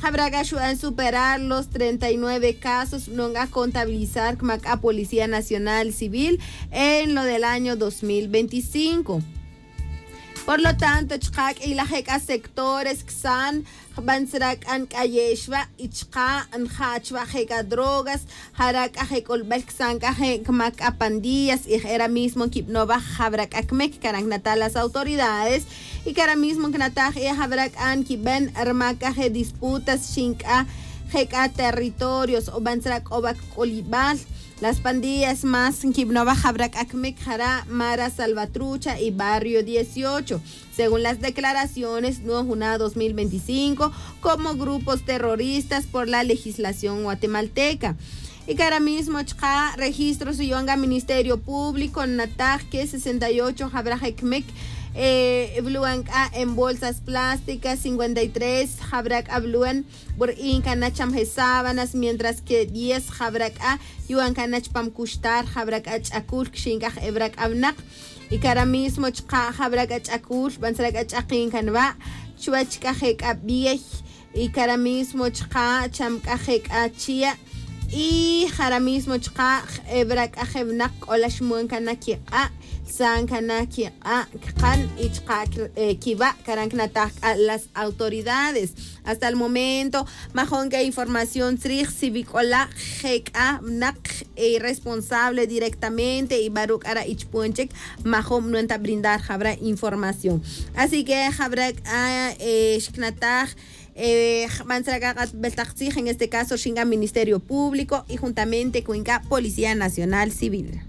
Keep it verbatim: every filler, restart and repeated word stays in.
Jab'ra k'a xu'an superar los treinta y nueve casos nu'on k'a contabilizar kma k'a policía nacional civil en lo del año dos mil veinticinco. Por lo tanto chqa' k'iylaj je' k'a sectores ksan jb'an tzra k'a nk'ayex wa' y chqa' nja' chwa' je' k'a drogas, jara' k'a je' k'olb'al ksan k'a je' kma k'a pandillas y jera mismo nkib'no wa' jab'ra k'a kmek, karan knataj las autoridades y kara mismo knataj y jab'ra k'a nkib'en rma k'a je' disputas xin k'a je' k'a territorios o b'an tzra k'o wa' kk'olib'al. Las pandillas más nkib'no wa' jab'ra k'a kmek jara' mara Salvatrucha y barrio dieciocho, según las declaraciones nu'on juna dos mil veinticinco como grupos terroristas por la legislación guatemalteca. Y kara mismo chqa' registros yu'an k'a ministerio público nataj que sesenta y ocho jab'ra je' kmek, b'lu'an k'a en bolsas plásticas, cincuenta y tres jab'ra k'a b'lu'an b'ur in kana' cham je' sábanas, mientras que diez jab'ra k'a yu'an kana' chpam kuxtar jab'ra k'a ch'akul kxin k'a je' b'ra k'a b'naq. Y kara mismo chqa' jab'ra k'a ch'akul b'an tzra k'a ch'aqin kan wa' chuwach k'a je' k'a b'iey. Y kara mismo chqa' cham k'a je' k'a chia'. Y jara mismo chqa' jeb'ra k'a je' b'naq k'ola xmu'an kana' kiq'a', lsan kana' kiq'a' kqan y chqa' kiwa' karan knataj k'a las autoridades. Hasta el momento majun k'a información tzrij si wi k'ola je' k'a b'naq irresponsable directamente y b'aru' k'ara' ichpon chik majun b'nu'an ta brindar jab'ra' información. Así que jab'ra' k'a xknataj jb'an tzra k'a q'atb'al taq tzij en este caso rxin k'a ministerio público y juntamente con k'a policía nacional civil.